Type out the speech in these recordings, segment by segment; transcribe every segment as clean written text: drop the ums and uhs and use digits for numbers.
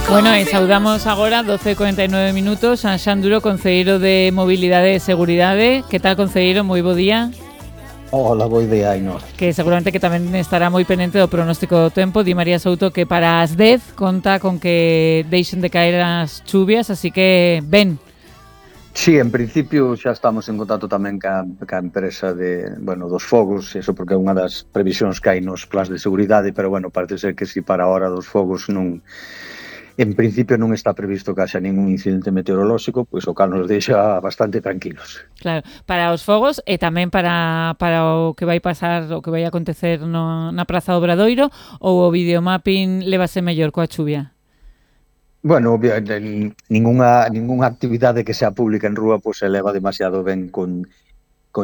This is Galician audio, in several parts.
Bueno, e saudamos agora 12:49 minutos a Xan Duro, concelleiro de Mobilidade e Seguridade. Que tal, concelleiro? Moi bo día. Hola, bo día, Ainhoa. Que seguramente que tamén estará moi penente do pronóstico do tempo. Di María Souto que para as 10 conta con que deixen de caer as chuvias, así que ben. Sí, en principio xa estamos en contacto tamén ca empresa dos fogos, eso porque é unha das previsións que hai nos plans de seguridade, pero parece ser que si para a hora dos fogos non, en principio non está previsto que haxa ningún incidente meteorolóxico, pois o cal nos deixa bastante tranquilos. Claro, para os fogos e tamén para o que vai pasar, o que vai acontecer na Praza do Obradoiro, ou o videomapping levase mellor coa chuvia? Bueno, ningunha actividade que sea pública en rúa pois se leva demasiado ben con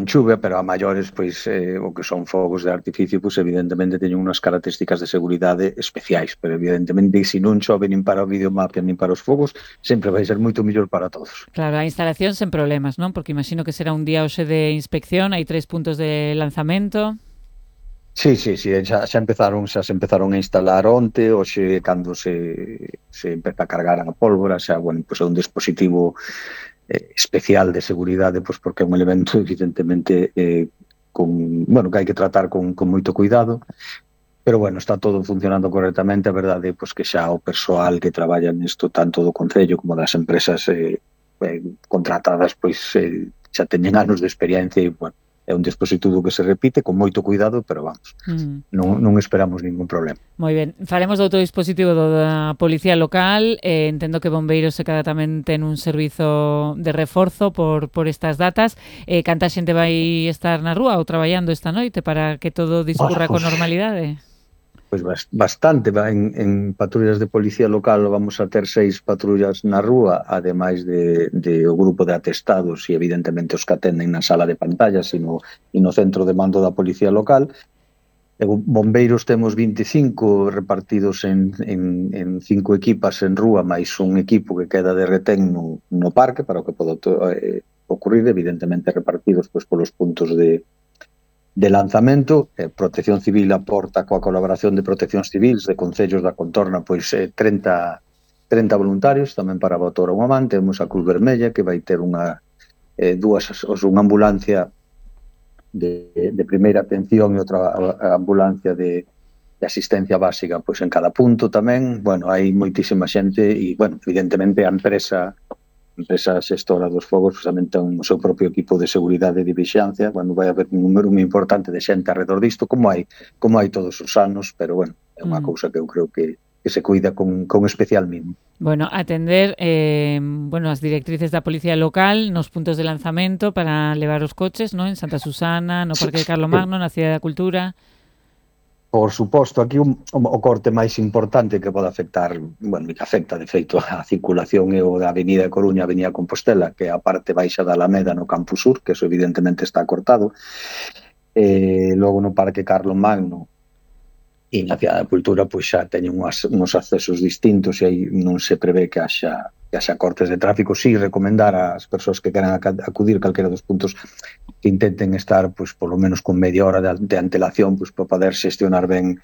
chuvia, pero a maiores, pois, o que son fogos de artificio, pois, evidentemente, teñen unhas características de seguridade especiais, pero, evidentemente, se non chove nin para o videomapping nin para os fogos, sempre vai ser moito mellor para todos. Claro, a instalación sen problemas, non? Porque imagino que será un día hoxe de inspección, hai 3 puntos de lanzamento. Sí, xa se empezaron a instalar onte, hoxe cando se empeza a cargar a pólvora, xa, pois é un dispositivo especial de seguridade, pois porque é un elemento evidentemente que hai que tratar con moito cuidado, pero está todo funcionando correctamente. A verdade é pois que xa o persoal que traballa nisto, tanto do Concello como das empresas contratadas, pois xa teñen anos de experiencia e, é un dispositivo que se repite con moito cuidado, pero non esperamos ningún problema. Moi ben, falemos do outro dispositivo da Policía Local. Entendo que Bombeiros e cada tamén ten un servizo de reforzo por estas datas. Canta xente vai estar na rúa ou traballando esta noite para que todo discurra con normalidade? Pois bastante. En patrullas de Policía Local vamos a ter 6 patrullas na rúa, ademais de o grupo de atestados e, evidentemente, os que atenden na sala de pantallas e no centro de mando da Policía Local. Bombeiros temos 25 repartidos en 5 equipas en rúa, máis un equipo que queda de retén no parque para o que poda ocurrir, evidentemente repartidos pois polos puntos de lanzamento. Protección Civil aporta coa colaboración de Proteccións Civils de concellos da contorna pois 30 voluntarios tamén para botar unha man. Temos a Cruz Vermella que vai ter unha ambulancia de primeira atención e outra ambulancia de asistencia básica pois en cada punto tamén. Hai moitísima xente e, evidentemente, a empresa xestora dos fogos tamén ten o seu propio equipo de seguridade e de vixiancia. Vai haber un número moi importante de xente alrededor disto, como hai todos os anos, pero é unha cousa que eu creo que se cuida con especial mimo. Atender as directrices da Policía Local nos puntos de lanzamento para levar os coches, non? En Santa Susana, no Parque de Carlomagno, na Cidade da Cultura. Por suposto, aquí o corte máis importante que pode afectar, que afecta de feito a circulación é o da Avenida Coruña, Avenida Compostela, que é a parte baixa da Alameda no Campus Sur, que eso evidentemente está cortado. Logo no Parque Carlomagno e na Cidade da Cultura pois xa teñen uns accesos distintos e aí non se prevé que haxa cortes de tráfico. Si recomendar ás persoas que queran acudir calquera dos puntos que intenten estar pois polo menos con media hora de antelación pois para poder xestionar ben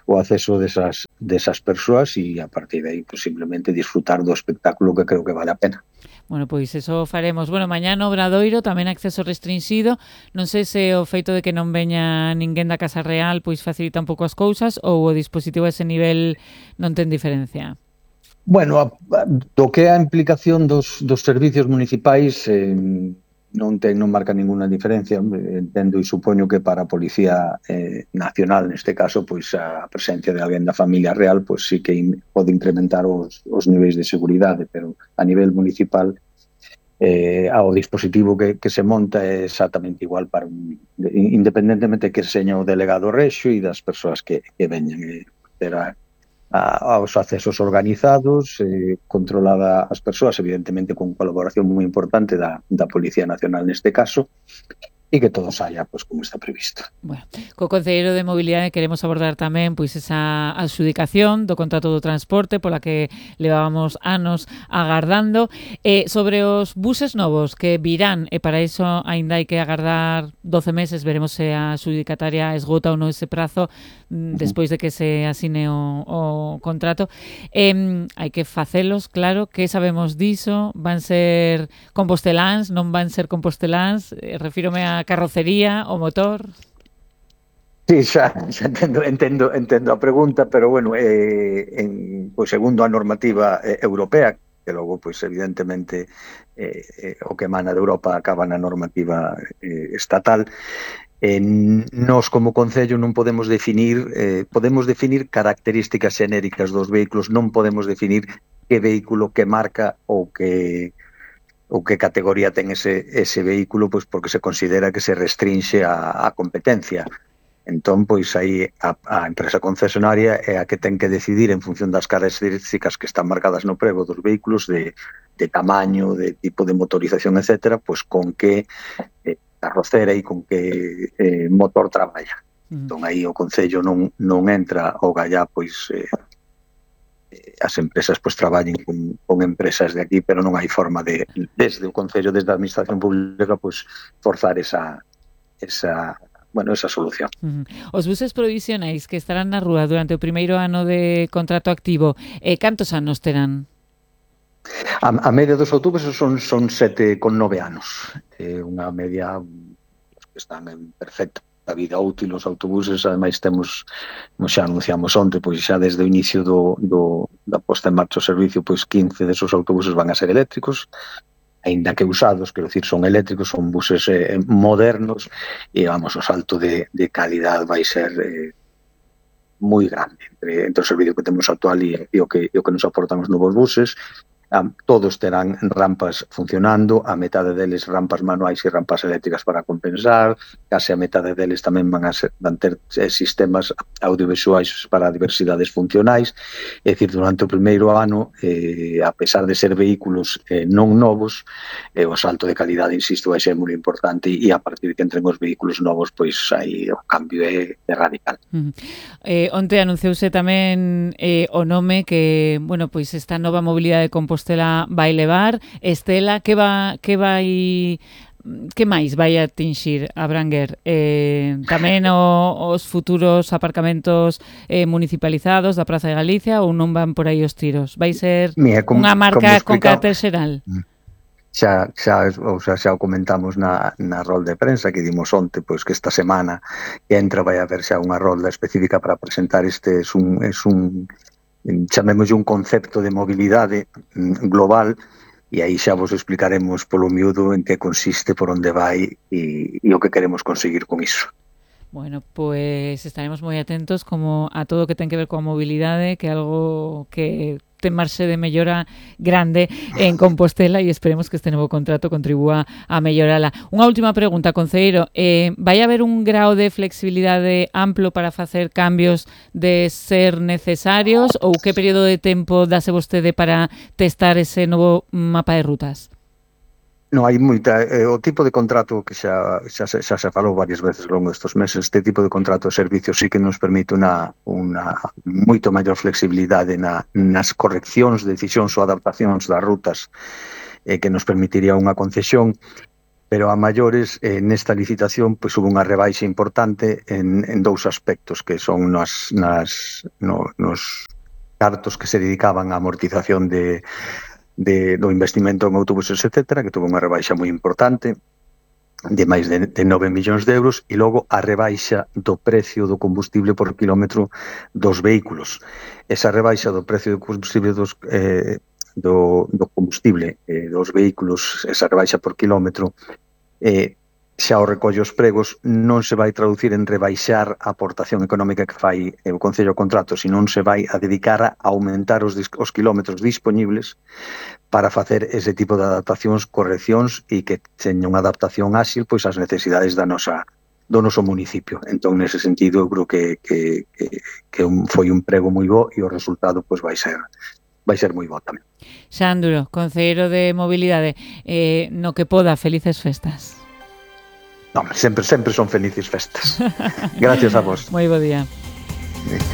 o acceso desas persoas e a partir de aí pois simplemente disfrutar do espectáculo que creo que vale a pena. Pois eso faremos. Mañá no Obradoiro tamén acceso restringido. Non sei se o feito de que non veña ninguén da Casa Real pois facilita un pouco as cousas ou o dispositivo a ese nivel non ten diferencia. Do que é a implicación dos servicios municipais non marca ninguna diferencia. Entendo e supoño que para a Policía Nacional, neste caso, pois a presencia de alguén da familia real, pois sí que pode incrementar os niveis de seguridade, pero a nivel municipal o dispositivo que se monta é exactamente igual independentemente que seña o delegado rexo e das persoas que veñan. Terá aos accesos organizados, controlada as persoas, evidentemente con colaboración moi importante da Policía Nacional neste caso, e que todo saia pois como está previsto. Bueno, co Concelleiro de Mobilidade queremos abordar tamén pois esa adxudicación do contrato do transporte pola que levábamos anos agardando, sobre os buses novos que virán, e para iso aínda hai que agardar 12 meses, veremos se a adxudicataria esgota ou non ese prazo despois de que se asine o contrato. Hai que facelos, claro, que sabemos diso, van ser composteláns, non van ser composteláns, refírome a carrocería, o motor. Sí, xa entendo a pregunta, pero bueno, pois segundo a normativa europea, que logo, pois evidentemente, o que emana de Europa acaba na normativa estatal, nós como Concello non podemos definir características xenéricas dos vehículos, non podemos definir que vehículo, que marca ou que categoría ten ese vehículo, pois porque se considera que se restrinxe a competencia. Entón, pois aí a empresa concesionaria é a que ten que decidir en función das características que están marcadas no prego dos vehículos, de tamaño, de tipo de motorización, etcétera, pois con que carrocera e con que motor traballa. Entón, aí o Concello non entra ao gallá, pois as empresas pois traballen con empresas de aquí, pero non hai forma de, desde o Concello, desde a Administración Pública, pois forzar esa solución. Os buses provisionais que estarán na rúa durante o primeiro ano de contrato activo, cantos anos terán? A media dos autobuses son 7,9 anos. Unha media que están en perfecta vida útil os autobuses. Ademais temos, como xa anunciamos onte, pois xa desde o inicio da posta en marcha do servicio, pois 15 desos autobuses van a ser eléctricos, aínda que usados, quero dicir, son eléctricos, son buses modernos, e vamos, o salto de calidad vai ser moi grande entre o servicio que temos actual e o que nos aportan os novos buses. Todos terán rampas funcionando, a metade deles rampas manuais e rampas eléctricas para compensar, case a metade deles tamén van ter sistemas audiovisuais para diversidades funcionais. É dicir, durante o primeiro ano, a pesar de ser vehículos non novos, o salto de calidade, insisto, vai ser moi importante, e a partir que entren os vehículos novos, pois aí o cambio é radical. Onte anunciouse tamén o nome que, bueno, pois esta nova mobilidade de Compostela vai levar. Estela, que máis vai atinxir, abranguer? Tamén os futuros aparcamentos municipalizados da Praza de Galicia, ou non van por aí os tiros? Vai ser unha marca con carácter xeral? Xa o comentamos na rol de prensa que dimos onte, pois que esta semana que entra vai haber xa unha rolda específica para presentar chamémoslle un concepto de mobilidade global, e aí xa vos explicaremos polo miúdo en que consiste, por onde vai e o que queremos conseguir con iso. Bueno, pois estaremos moi atentos como a todo o que ten que ver coa mobilidade, que é algo que ten marxe de mellora grande en Compostela, e esperemos que este novo contrato contribúa a mellorala. Unha última pregunta, concelleiro, vai haber un grao de flexibilidade amplo para facer cambios de ser necesarios, ou que período de tempo dase vostede para testar ese novo mapa de rutas? Non, hai moita, o tipo de contrato que xa se falou varias veces ao longo destes meses, este tipo de contrato de servicios sí que nos permite unha moito maior flexibilidade nas correccións, decisións ou adaptacións das rutas, que nos permitiría unha concesión, pero a maiores nesta licitación pois hubo unha rebaixa importante en dous aspectos, que son nos cartos que se dedicaban á amortización do investimento en autobuses, etcétera, que tuvo unha rebaixa moi importante de máis de 9 millóns de euros, e logo a rebaixa do precio do combustible por quilómetro dos vehículos. Esa rebaixa do precio do combustible dos vehículos, esa rebaixa por quilómetro, xa o recolle os pregos, non se vai traducir en rebaixar a aportación económica que fai o Concello ao contrato, senón se vai a dedicar a aumentar os quilómetros disponibles para facer ese tipo de adaptacións, correccións, e que teña unha adaptación áxil pois ás necesidades do noso municipio. Entón, nese sentido, eu creo que foi un prego moi bo, e o resultado pois vai ser moi bo tamén. Xanduro, concelleiro de Mobilidade, no que poda, felices festas. Non, sempre son felices festas. Gracias a vos. Moi bo día. Sí.